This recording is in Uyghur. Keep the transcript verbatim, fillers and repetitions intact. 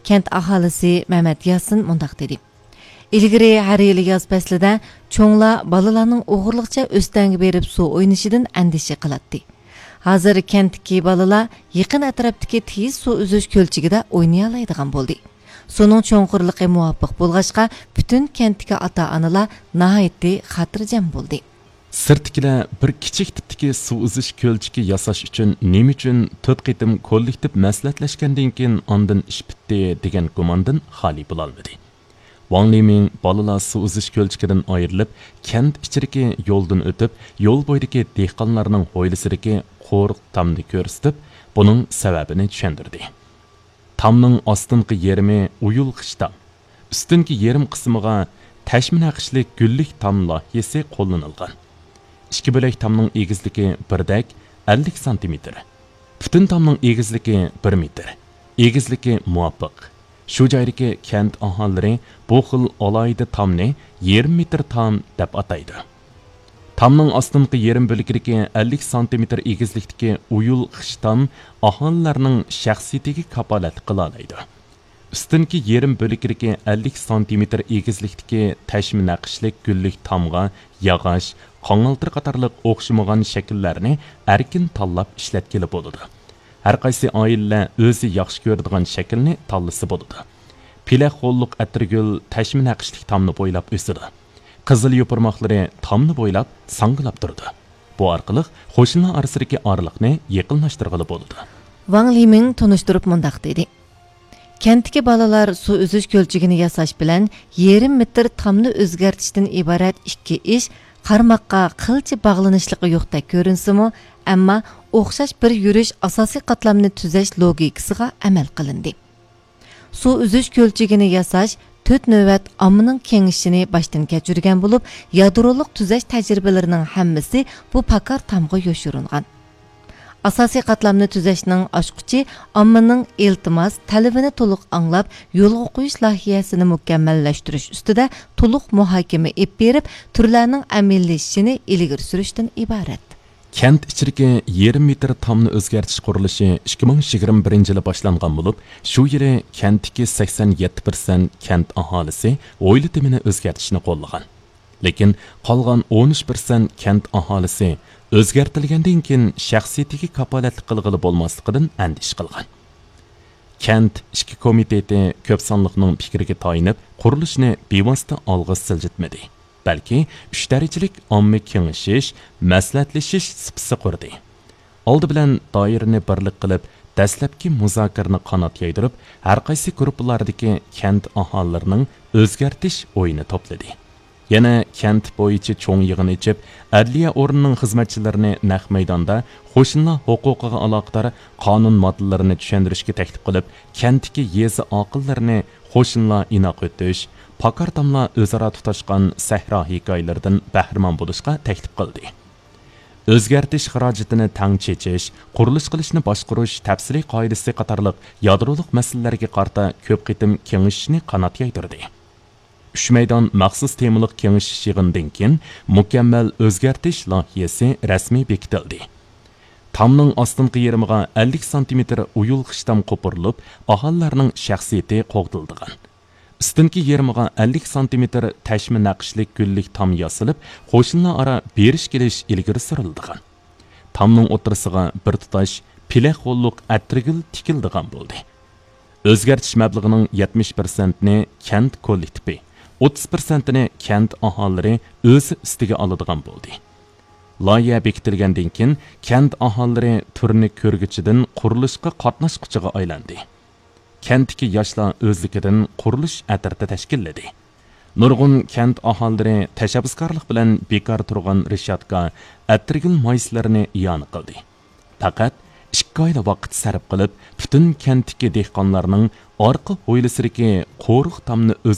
كەنت ئاھالىسى مەمەت ياسىن مۇنداق دېدى: ئىلگىرى ھەر يىلى ياز پەسلىدە چوڭلار بالىلارنىڭ ئوغرىلىقچە ئۆستەڭگە بېرىپ سۇ ئوينىشىدىن ئەندىشە قىلاتتى. ھازىر كەنتتىكى بالىلار يېقىن ئەتراپتىكى تېيىز سۇ ئۈزۈش كۆلچىكىدە ئوينىيالايدىغان بولدى. سۇنىڭ چوڭقۇرلۇقى مۇۋاپىق بولغاچقا، پۈتۈن كەنتتىكى ئاتا-ئانىلار ناھايىتى خاتىرجەم بولدى. سىرتتىكىلەر بىر كىچىك تىپتىكى سۇ ئۈزۈش كۆلچىكى ياساش ئۈچۈن نېمە ئۈچۈن تۆت قېتىم كوللېكتىپ مەسلىھەتلەشكەندىن كېيىن ئاندىن ئىش پۈتتى دېگەن گۇماندىن خالىي بولالمىدى. ۋاڭ لىمىڭ بالىلار سۇ ئۈزۈش كۆلچىكىدىن ئايرىلىپ، كەنت ئىچىدىكى يولدىن ئۆتۈپ، يول بويىدىكى دېھقانلارنىڭ ھويلىسىدىكى قورۇق تامنى كۆرسىتىپ، بۇنىڭ سەۋەبىنى چۈشەندۈردى. تامنىڭ ئاستىنقى يېرىمى ئويۇلغۇچ تام، ئۈستۈنكى يېرىم قىسمىغا تەشمە نەقىشلىك گۈللۈك تام لايىھەسى قوللىنىلغان. ئىككى بۆلەك تامنىڭ ئېگىزلىكى بىردەك ئەللىك سانتىمېتىر. پۈتۈن تامنىڭ ئېگىزلىكى بىر مېتىر. ئېگىزلىكى مۇۋاپىق. شۇ جايدىكى كەنت ئاھالىلىرى بۇ خىل ئالاھىدە تامنى يېرىم مېتىر تام دەپ ئاتايدۇ. تامنىڭ ئاستىنقى يېرىم بۆلىكىدىكى ئەللىك سانتىمېتىر ئېگىزلىكتىكى ئويۇلغۇچ تام ئاھالىلەرنىڭ شەخسىيىتىگە كاپالەتلىك قىلالايدۇ. ئۈستۈنكى يېرىم بۆلىكىدىكى ئەللىك سانتىمېتىر ئېگىزلىكتىكى تەشمە نەقىشلىك گۈللۈك تامغا ياغاچ، قاڭالتىر قاتارلىق ئوخشىمىغان شەكىللەرنى ئەركىن تاللاپ ئىشلەتكىلى بولىدۇ. ھەرقايسى ئائىلىلەر ئۆزى ياخشى كۆرىدىغان شەكىلنى تاللىسا بولىدۇ. پېلەك غوللۇق ئەتىرگۈل تەشمە نەقىشلىك تامنى بويلاپ ئۆسىدۇ. قىزىل يوپۇرماقلىرى تامنى بويلاپ ساڭگىلاپ تۇرىدۇ. بۇ ئارقىلىق قوشنىلار ئارىسىدىكى ئارىلىقنى يېقىنلاشتۇرغىلى بولىدۇ. ۋاڭ لىمىڭ تونۇشتۇرۇپ مۇنداق دېدى: كەنتتىكى بالىلار سۇ ئۈزۈش كۆلچىكىنى ياساش بىلەن يېرىم مېتىر تامنى ئۆزگەرتىشتىن ئىبارەت ئىككى ئىش قارىماققا قىلچە باغلىنىشلىقى يوقتەك كۆرۈنسىمۇ، ئەمما ئوخشاش بىر يۈرۈش ئاساسىي قاتلامنى تۈزەش لوگىكىسىغا ئەمەل قىلىندى. سۇ ئۈزۈش كۆلچىكىنى ياساش تۆت نۆۋەت ئاممىنىڭ كېڭىشىشىنى باشتىن كەچۈرگەن بولۇپ، يادرولۇق تۈزەش تەجرىبىلىرىنىڭ ھەممىسى بۇ پاكار تامغا يوشۇرۇنغان. ئاساسىي قاتلامنى تۈزەشنىڭ ئاچقۇچى ئاممىنىڭ ئىلتىماس، تەلىپىنى تولۇق ئاڭلاپ، يولغا قويۇش لايىھەسىنى مۇكەممەللەشتۈرۈش ئۈستىدە تولۇق مۇھاكىمە ئېلىپ بېرىپ، تۈرلەرنىڭ ئەمەلىيلىشىشىنى ئىلگىرى سۈرۈشتىن ئىبارەت. كەنت ئىچىدىكى يېرىم مېتىر تامنى ئۆزگەرتىش قۇرۇلۇشى ئىككى مىڭ يىگىرمە بىرىنچى يىلى باشلانغان بولۇپ، شۇ يىلى كەنتتىكى سەكسەن يەتتە پىرسەنت كەنت ئاھالىسى ھويلا تېمىنى ئۆزگەرتىشنى قوللىغان. لېكىن قالغان ئون ئۈچ پىرسەنت كەنت ئاھالىسى ئۆزگەرتىلگەندىن كېيىن شەخسىيىتىگە كاپالەتلىك قىلغىلى بولماسلىقىدىن ئەندىشە قىلغان. كەنت ئىچكى كومىتېتى كۆپ سانلىقنىڭ پىكرىگە تايىنىپ، قۇرۇلۇشنى بىۋاسىتە ئالغا سىلجىتمىدى، بەلكى ئۈچ دەرىجىلىك ئاممىۋى كېڭىشىش، مەسلىھەتلىشىش سۇپىسى قۇردى. ئالدى بىلەن دائىرىنى بىرلىك قىلىپ، دەسلەپكى مۇزاكىرىنى قانات يايدۇرۇپ، ھەرقايسى گۇرۇپپىلاردىكى كەنت ئاھالىلىرىنىڭ ئۆزگەرتىش ئويىنى توپلىدى. يەنە كەنت بويىچە چوڭ يىغىن ئېچىپ، ئەدلىيە ئورنىنىڭ خىزمەتچىلىرىنى نەق مەيداندا قوشنىلار ھوقۇقىغا ئالاقىدار قانۇن ماددىلىرىنى چۈشەندۈرۈشكە تەكلىپ قىلىپ، كەنتتىكى يېزا ئاقىللىرىنى قوشنىلار ئىناق ئۆتۈش، پاكار تاملار ئۆزئارا تۇتاشقان سەھرا ھېكايىلىرىدىن بەھرىمەن بولۇشقا تەكلىپ قىلدى. ئۆزگەرتىش خىراجىتىنى تەڭ چېچىش، قۇرۇلۇش قىلىشنى باشقۇرۇش تەپسىلىي قائىدىسى قاتارلىق يادرولۇق مەسىلىلەرگە قارىتا كۆپ قېتىم كېڭىشىشنى قانات يايدۇردى. ئۈچ مەيدان مەخسۇس تېمىلىق كېڭىشىش يىغىنىدىن كېيىن مۇكەممەل ئۆزگەرتىش لايىھەسى رەسمىي بېكىتىلدى. تامنىڭ ئاستىنقى يېرىمىغا ئەللىك سانتىمېتىر ئويۇلغۇچ تام قوپۇرۇلۇپ، ئاھالىلەرنىڭ شەخسىيىتى قوغدىلىدىغان. ئۈستۈنكى يېرىمىغا ئەللىك سانتىمېتىر تەشمە نەقىشلىك گۈللۈك تام ياسىلىپ، قوشنىلار ئارا بېرىش كېلىش ئىلگىرى سۈرۈلىدىغان. تامنىڭ ئوتتۇرىسىغا بىر تۇتاش پېلەك غوللۇق ئەتىرگۈل تىكىلىدىغان بولدى. ئۆزگەرتىش مەبلىغىنىڭ يەتمىش پىرسەنتىنى كەنت كوللېكتىپى، ئوتتۇز پىرسەنتىنى كەنت ئاھالىلىرى ئۆزى ئۈستىگە ئالىدىغان بولدى. لايىھە بېكىتىلگەندىن كېيىن، كەنت ئاھالىلىرى تۈرنى كۆرگۈچىدىن قۇرۇلۇشقا قاتناشقۇچىغا ئايلاندى. كەنتتىكى ياشلار ئۆزلۈكىدىن قۇرۇلۇش ئەترىتى تەشكىللىدى. نۇرغۇن كەنت ئاھالىلىرى تەشەببۇسكارلىق بىلەن بىكار تۇرغان رېشاتكا، ئەتىرگۈل مايسىلىرىنى ئىئانە قىلدى. پەقەت ئىككى ئايلا ۋاقىت سەرپ قىلىپ، پۈتۈن كەنتتىكى دېھقانلارنىڭ ئارقا ھويلىسىدىكى قورۇق تامنى ئۆزگەرتىپ،